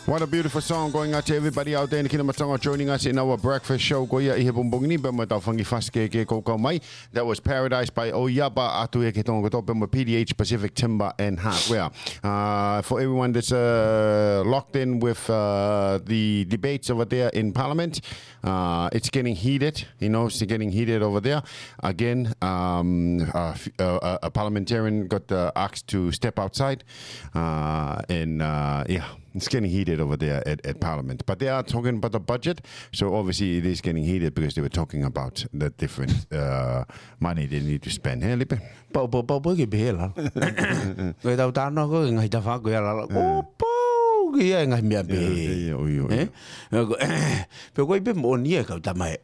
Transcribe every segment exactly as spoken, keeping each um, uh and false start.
What a beautiful song going out to everybody out there in the Kingdom of Tonga joining us in our breakfast show ko ia ʻi he pongipongi ni, pea mo ʻetau fanga kiʻi fasi kehekehe kuo kau mai. That was Paradise by ʻOiapa, ʻoatu ia ki he Tonga kotoa pea mo P D H Pacific Timber and Hardware. Uh, for everyone that's, uh, locked in with, uh, the debates over there in Parliament, uh, it's getting heated, you know, it's getting heated over there. Again, um, uh, f-, uh, uh, a parliamentarian got, uh, asked to step outside, uh, and, uh, yeah, it's getting heated over there at, at Parliament. But they are talking about the budget, so obviously it is getting heated because they were talking about the different, uh, money they need to spend. He, Lipe? Pau, pau, pau, pau ke pehē la. Ko ʻetau talanoa ko e ngaahi tafaʻaki ko ia la. Ko pau ke ʻi ai e ngaahi meʻa pehē. ʻIo, ʻio, ʻio. Ē? Ko, pea ko e pē moʻoni e kau tama e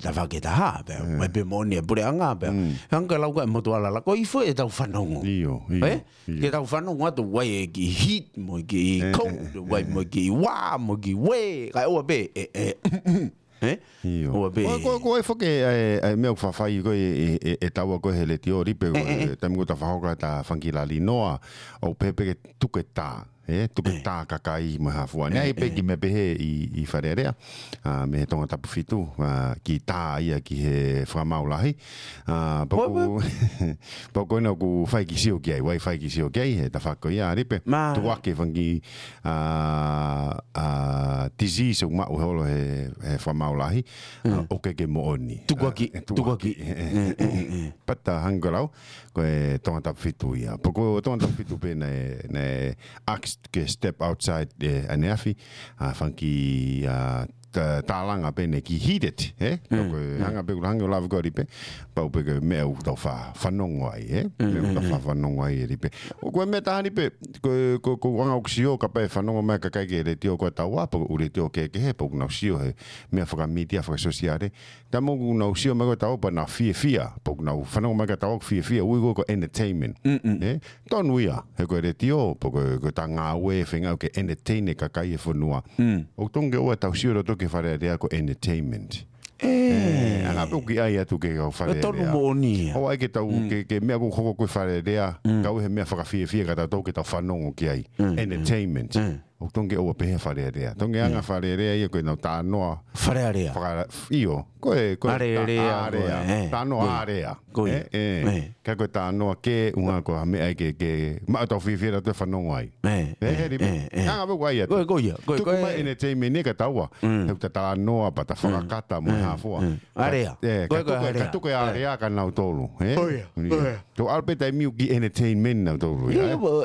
tafaʻaki ʻe taha, pea, mai pē moʻoni e puleʻanga, pea. Hangē ko e lau ko ē ʻa e motuʻa la, ko e ifo ʻetau fanongo. ʻIo, ʻio, ʻio. Ke tau fanongo atu ʻoku ʻi ai e kiʻi heat mo e kiʻi cold, ʻoku ʻi ai mo e kiʻi uā, mo e kiʻi uē, kae ʻoua pē, ē, ē, ē? ʻIo. ʻOua pē. Ko, ko, ko e foki e, e, e meʻa ʻoku faʻa fai ko ē, e, e, ʻe taua ko ē he letiō, Lipe, ko e taimi ko ē ʻoku ta faʻa hoko atu ʻa e fanga kiʻi lali noa, ʻoku pehē pē ke tuku e tā. Ē, tuku e tā kakai mo e hā fua. Naʻe ʻi ai pē kiʻi meʻa pehē ʻi, ʻi Fale Alea, ʻa, mei he Tongatapu fitu, ʻa, kiʻi tā ia ki he fakamaau lahi. ʻA, pea ʻoku, pea ʻoku ʻi ai ʻeku fai kiʻi sio ki ai, ʻoku ʻi ai e fai kiʻi sio ki ai, he tafaʻaki ko ia, Lipe. Tuku hake e fanga kiʻi, ʻa, ʻa, disease ʻoku maʻu he ʻaho he, he fakamaau lahi, ʻa, ʻoku ʻikai ke moʻoni. Tuku hake, ʻa, tuku hake. Ē, ē, ē, ē. Pea tā hangē ko e lau, ko e Tongatapu fitu ia. Pea ko e Tongatapu fitu pē naʻe, naʻe ask ke step outside ʻaneafi, ʻa, fanga kiʻi, ʻa, tā-, tālanga pē naʻe kiʻi heated, ē? Ko e hangē pē ko e hangē ʻoku lave ko ē, Lipe, pau pē ko e meʻa ʻoku tau faʻa fanongo ai, ē? Meʻa ʻoku tau faʻa fanongo ai, Lipe. Ko e meʻa taha ni pē, ko, ko, ko e anga ʻoku sio, kapau ʻe fanongo mai e kakai ki he letiō ko ē ʻa taua, pe ko e letiō kehekehe, pea ʻoku nau sio he meʻa fakamītia, fakasōsiale, tā mo ʻoku nau sio mai ko ē ʻa taua pea nau fiefia, pea ʻoku nau fanongo mai ko ē ʻa taua ʻoku fiefia, ui ko ē ko e entertainment. Ē? Tonu ia, he ko e letiō, pea ko e, ko ʻeta ngāue feinga ke entertain e kakai e fonua. ʻOku totonu ke ʻoua ʻe tau sio loto ki he Fale Alea ko e entertainment. Ē, anga pē ʻoku ʻi ai atu ki he kau Fale Alea. Tonu moʻoni ia. ʻOua ʻe ke tau, ke, ke meʻa ʻoku hoko ko ē Fale Alea, kau he meʻa fakafiefia ka tau tau ke tau fanongo ki ai. Entertainment. ʻOku totonu ke ʻoua pehē Fale Alea. Totonu ke anga Fale Alea ia ko ʻenau talanoa. Fale Alea. Faka-, ʻio, ko e, ko e ta-, alea, alea. Ko e, ē. Talanoa alea. Ko ia. Ē, ē. Ē. Ka ko e talanoa ke ʻuhinga ko ha meʻa ke, ke maʻu ʻetau fiefia ʻo tau fanongo ai. Ē, ē, ē, he Lipe. Ē, ē. Anga pē ʻoku ʻi ai atu. Ko e, ko ia, ko e, tuku mai e entertainment ē ka taua. He ʻoku ta talanoa pea ta fakakata mo e hā fua. Alea. Ē, ko e, ka tuku e alea ka nautolu, ē? Ko ia, ko ia. Tau ʻalu pē taimi ʻoku kiʻi entertainment nautolu, ē? Ia, mo.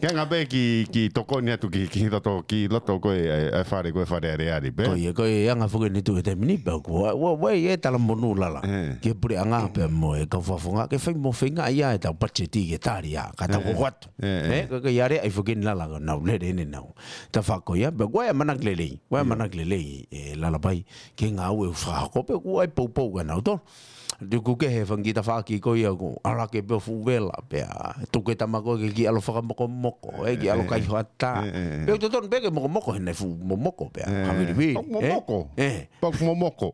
Ke anga pē kiʻi, kiʻi tokoni atu ki, ki loto, ki loto ko ē, ʻa e, ʻa e Fale, ko e Fale Alea, Lipe. Ko ia, ko e anga foki eni ʻoku tuʻu he taimi ni pea ʻoku, ʻoua, ʻoua, ʻoua ʻe talamonū lala. Ē. Ki he puleʻanga pea mo e kau fakafofonga, ke fai mo feinga ia ʻetau patiseti ke tali ia, ka tau hoko atu. Ē, ē. Ē, ko e, ko e alea ʻi foki eni lala, nau lele eni nau. Tafaʻaki ko ia, pea ʻoku ʻi ai e ʻamanaki lelei, ʻoku ʻi ai e ʻamanaki lelei, ē, Lalapai, ki he ngāue ʻoku fakahoko pea ʻoku ʻi ai e poupou kia nautolu. Tuku kehe e fanga kiʻi tafaʻaki ko ia ʻoku ʻalu hake pē ʻo fuʻu vela, pea tuku e tama ko ē ke kiʻi ʻalu ʻo fakamokomoko, ē, kiʻi ʻalu ʻo kaihaʻa. Ē, ē, ē. Pea ʻoku totonu pē ke mokomoko, he naʻe fuʻu momoko pea, ē, haʻu ʻo vilivi, ʻoku momoko. Ē. Pea ʻoku momoko.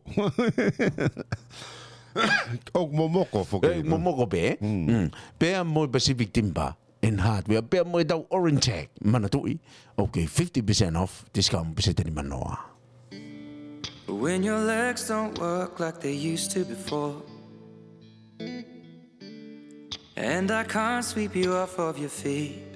ʻOku momoko foki. Ē, momoko pē. Pea mo e Pacific Timber and Hardware, pea mo ʻetau Orintech, manatuʻi, ʻoku kei fifty percent off, discount pēseti nima noa. When your legs don't work like they used to before, and I can't sweep you off of your feet.